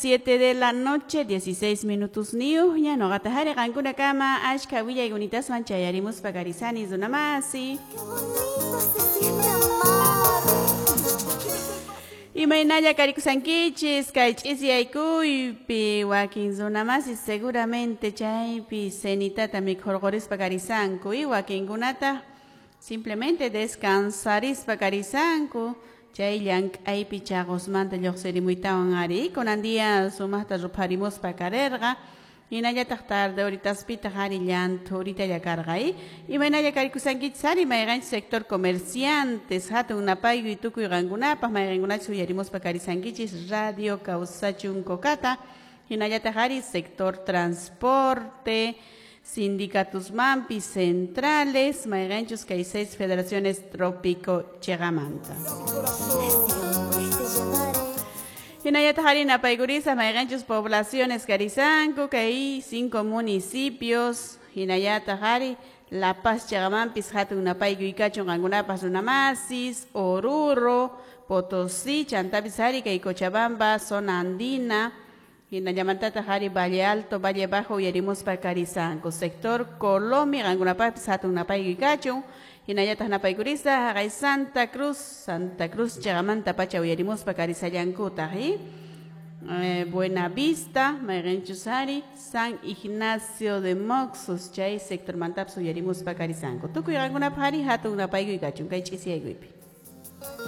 7 de la noche, 16 minutos niuhña, noqata hari qankunakama ashka willaykunataswan chayarimuspa karisani runamasi. Qué bonito se siente amar. Imaynalla karikusankichis kay ch'isiyaykuypi wakin runamasi seguramente chaypi cenitata mikhurqurispa karisanku y wakinkunata simplemente descansarispa karisanku chay llank'aypi chaqusmanta lluqsirimuytawan ari kunan día sumaqta rupharimuspa karirqa hinallataq tarde horitaspitaq ari llanthurita karqa imaynalla karikusankichis ari mayqanchis sector comerciantes hatun napaykuy tukuy qankunapaq mayqankunachus uyarimuspa karisankichis radio Kawsachun Cocata hinallataq ari sector transporte sindicatusmanpis centrales mayqanchus kay 6 federaciones trópico chiqamanta. Siempre te llevaré. Hinallataq ari napaykurisa mayqanchus poblaciones karisanku kay 5 municipios hinallataq ari La Paz chiqamanpis hatun napaykuy kachun qankunapas runamasis Oruro, Potosí, chantapis ari kay Cochabamba, zona andina hinallamantataq ari Valle Alto, Valle Bajo uyarimuspa karisanku sector Colomi qankunapaqpis hatun napaykuy kachun hinallataq napaykurisa haqay Santa Cruz, Santa Cruz chiqamanta pacha uyarimuspa karisallankutaq Buena Vista, mayqanchus ari San Ignacio de Moxos chay sector mantapis uyarimuspa karisanku tukuy qankunapaq ari hatun napaykuy kachun kay ch'isiyaykuypi.